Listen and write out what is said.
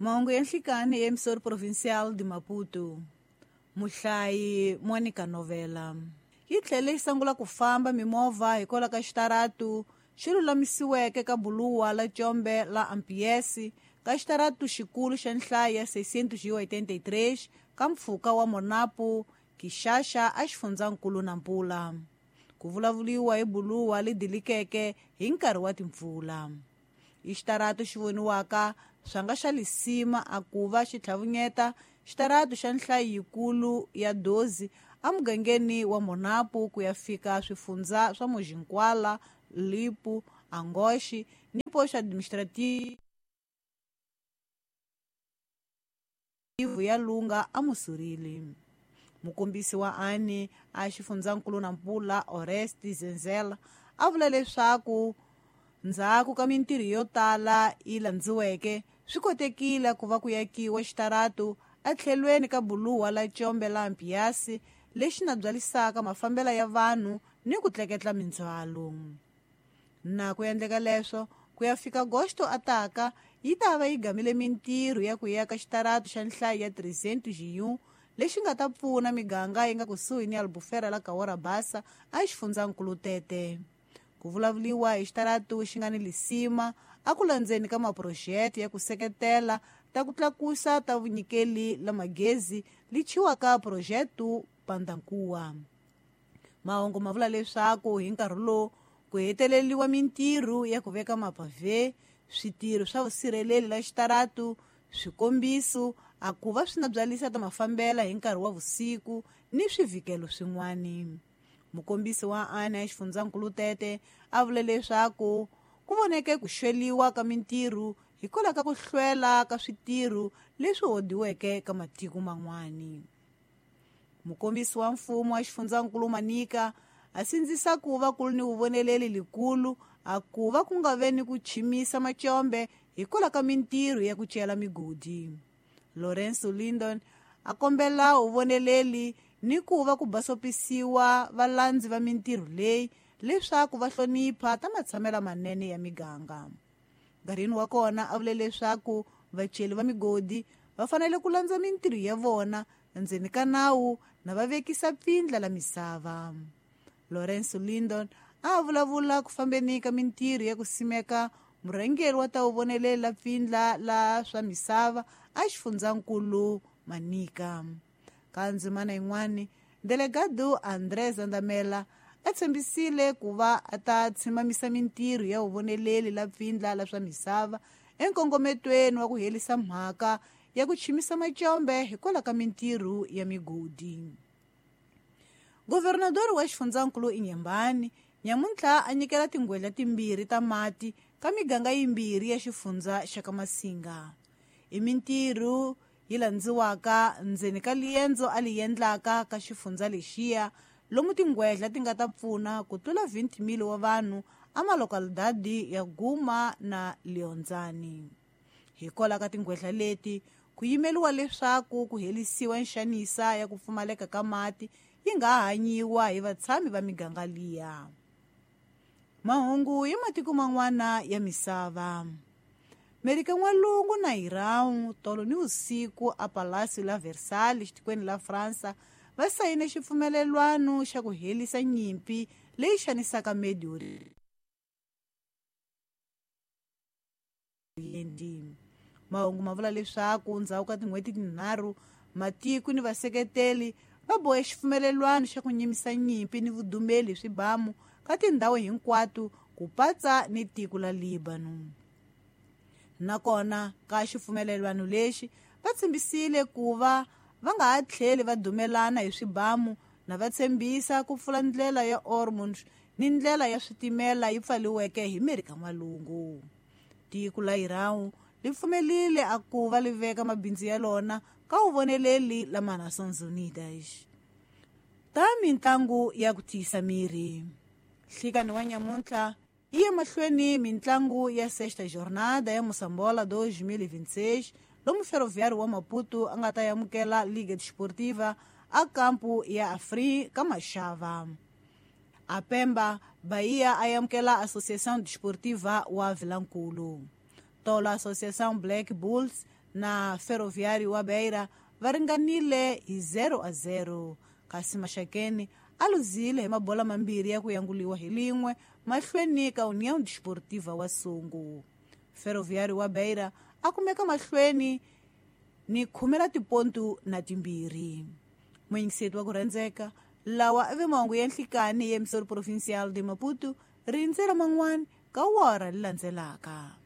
Mahungu ya nhlikani ya emissora provincial de Maputo. Muhlayi Monica Novela. Yi tlhele yi sungula ku famba mimovha hikwalaho ka xitaratu xi lulamisiweke ka buluwa la Tshombe la Ampiesi ka xitaratu xikulu xa nhlayo ya 683 ka mpfhuka wa Monapo Kixaxa a xifundzankulu Nampula. Ku vulavuriwa hi buluwa li dilikeke hi nkarhi wa timpfula. I xitaratu xi voniwaka swanga xa lisima a ku va xi tlhavunyeta xitaratu xa nhlayo yikulu ya dozi emugangeni wa Monapo ku ya fika swifundza swa Mojinkwala, Lipu, Angoxi ni poxo administrative ya Lunga aMusurili. Mukombisi wa ANI a xifundzankulu Nampula Oreste Zenzela a vula leswaku ndzhaku ka mintirho yo tala yi landziweke swi kotekile ku va ku yakiwa xitaratu etlhelweni ka buluwa la Tshombe la Mpiasi lexi na byalisaka mafambelo ya vanhu ni ku tleketla mindzhwalo. Na ku endleka leswo ku ya fika Agosto ataka yi ta va yi gamile mintirho ya ku yaka xitaratu xa nhlayo ya 301 lexi nga ta pfuna miganga yi nga kusuhi ni Albufeira la Cahora Bassa a xifundzankulu Tete. Ku vulavuriwa hi xitaratu xi nga ni lisima a ku landzeni ka maphurojete ya ku seketela ta ku tlakusa ta vunyikeli la magezi li chiwaka phurojetu Pandankuwa. Mahungu ma vula leswaku hi nkarhi lowu ku heteleliwa mintirho ya ku veka mapavhe, switirho swa vusirheleri la xitaratu, swikombiso a ku va swi na byalisa ta mafambela hi nkarhi wa vusiku ni swivhikelo swin'wani. Mukombisi wa ANI ya xifundzankulu Tete a vule leswaku ku voneke ku xweliwa ka mintirho hikwalaho ka ku hlwela ka switirho leswi hodiweke ka matiko man'wani. Mukombisi wa mfumo wa xifundzankulu Manika a sindzisa ku va ku ri ni vuvoneleli likulu a ku va ku nga ve ni ku chimisa macombe hikwalaho ka mintirho ya ku cela migodi. Lorenzo Lindon a kombela vuvoneleli ni ku va ku basopisiwa valandzi va mintirho leyi leswaku va hlonipha ta matshamelo manene ya miganga. Nkarhini wa kona a vule leswaku vaceli va migodi va fanele ku landza mintirho ya vona ndzeni ka nawu na va vekisa pfindla la misava. Lorenzo Lindon a vulavula ku fambeni ka mintirho ya ku simeka murhangeri wa ta vuvonelela pfindla la swa misava a xifundzankulu Manika. Ka ndzimana yin'wani, delegado André Zandamela a tshembisile ku va a ta tshimamisa mintirho ya vuvoneleli la pfindla la swa misava enkongometweni wa ku herisa mhaka ya ku chimisa macombe hikwalaho ka mintirho ya migodi. Governador wa xifundzankulu Inhambane nyamuntlha a nyikela tingwedla timbirhi ta mati ka miganga yimbirhi ya xifundza xa ka Masinga. I mintirho yi landziwaka ndzeni ka liendzo a li endlaka ka xifundza lexiya lomu tingwedla ti nga ta pfuna ku tlula 20,000 wa vanhu a malokalidadi ya Guma na Leonzani. Hikwalaho ka tingwedla leti ku yimeliwa leswaku ku herisiwa nxanisa ya ku pfumaleka ka mati yi nga hanyiwa hi vatshami va miganga liya. Mahungu ya matiko man'wana ya misava. Merika N'walungu na Iran tolo ni vusiku a Palacio la Versailles xitikweni la Fransa va sayine xipfumelelwano xa ku herisa nyimpi leyi xanisaka Medio Oriente. Mahungu ma vula leswaku ndzhaku ka tin'hweti tinharhu matiko ni vaseketeli va bohe xipfumelelwano xa ku nyimisa nyimpi ni vudumeli hi swibamu ka tindhawu hinkwato ku patsa ni tiko la Lebanon. Nakona ka xipfumelelwano lexi va tshembisile ku va va nga ha tlheli va dumelana hi swibamu na va tshembisa ku pfula ndlela ya Ormuz ni ndlela ya switimela yi pfaliweke hi Merika N'walungu. Tiko la Iran li pfumelile a ku va li veka mabindzu ya lona ka vuvoneleli la Nações Unidas. Ta mintlangu ya ku tiyisa miri. Nhlikani wa nyamuntlha yi ya mahlweni mintlangu ya sexta jornada ya Moçambola 2026 lomu Ferroviário wa Maputo a nga ta amukela Liga Desportiva a kampu ya Afri ka Maxava. A Pemba, Bahia a amukela Associação Desportiva wa Vilankulu. Tolo Associação Black Bulls Na Ferroviário wa Beira va ringanile hi 0-0, kasi Maxakeni a luzile hi mabola mambirhi ya ku yanguliwa hi lin'we mahlweni ka União Desportiva wa Sungu. Ferroviário wa Beira a kumeka mahlweni ni 12 la tipontu na 2. Muyingiseti wa ku rhandzeka, lawa i ve mahungu ya nhlikani ya Emissora Provincial de Maputo, rindzela man'wana ka wora leri landzelaka.